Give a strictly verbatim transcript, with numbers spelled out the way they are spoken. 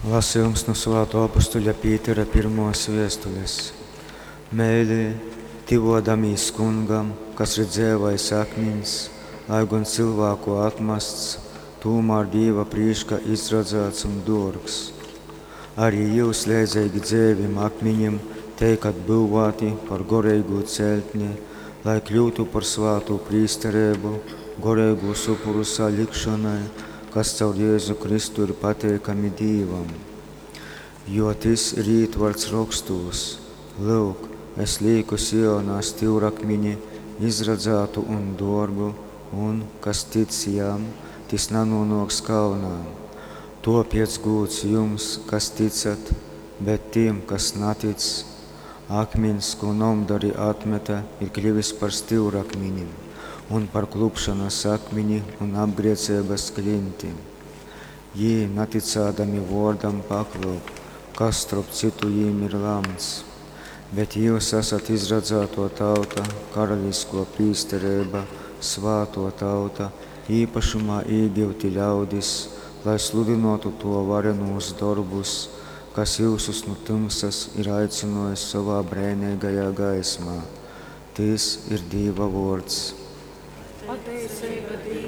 Lasejums nu Svātuo apustuļa Pītera pirmuos viestulis. Meilī, tyvuodamīs Kungam, kas ir dzeivais akmiņs, lai gon cylvāku atmasts, tūmār Dīva prīškā izradzāts un duorgs. Arī jyus leidzeigi dzeivim akmiņim teikat byuvāti par goreigu ceļtni, lai kļyutu par svātu prīstereibu, goreigūs upuru salikšonai, kas caur Jēzu Kristu ir pateikami Dīvam. Jo tys ir ītvarts rokstūs: Lyuk, es līku Sionā styurakmini, izradzātu un dōrgu, un, kas tic jam, tys nanūnōks kaunā. Tōpēc gūds jums, kas ticat, bet tim, kas natic: Akmiņs, kū nomdari atmete, ir kļyvis par styurakmini un par klupšonas akmini un apgrēceibas klinti. Jī, natycādami vōrdam, paklup, kas, storp cytu, jim ir lamts. Bet jyus asat izradzātō tauta, karaliskō prīstereiba, svātō tauta, īpašumā īgyuti ļaudis, lai sludynōtu Tō varenūs dorbus, kas jyusus nu tymsas ir aicynōjis sovā breineigajā gaismā. Tys ir Dīva vōrds. Pateiceiba Dīvam.